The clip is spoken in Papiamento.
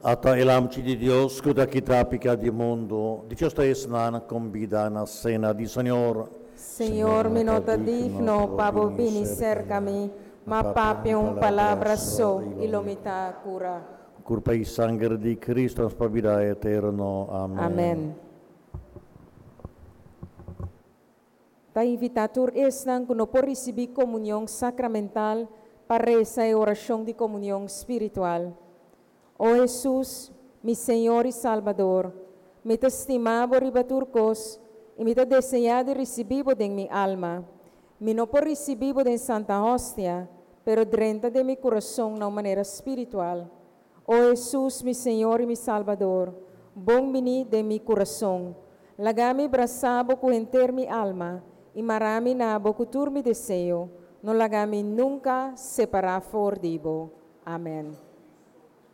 Ata e Lamchi di Dios ku ta kita piká di mundu, dichoso ta esnan kombidá na sena di Señor. Señor, mi no ta digno pa bo bini serka mi, ma papia un palabra so i lo mi ta kura. Kurpa i sanger di Kristu nos pa bida eterno. Amèn. Amèn. Ta invitá tur esnan ku no por risibí komunion sakramental pa resa e orashon di komunion spiritual. O Hesus, mi Señor i Salbador, mi ta stima Bo riba tur kos i mi ta deseá di risibí Bo den mi alma. Mi no por risibí Bo den Santa Hostia, pero drenta den mi kurason na un manera spiritual. O Hesus, mi Señor i mi Salbador, bon biní den mi kurason. Laga mi brasa Bo ku henter mi alma i mara mi na Bo ku tur mi deseo. No laga mi nunka separá for di Bo. Amèn.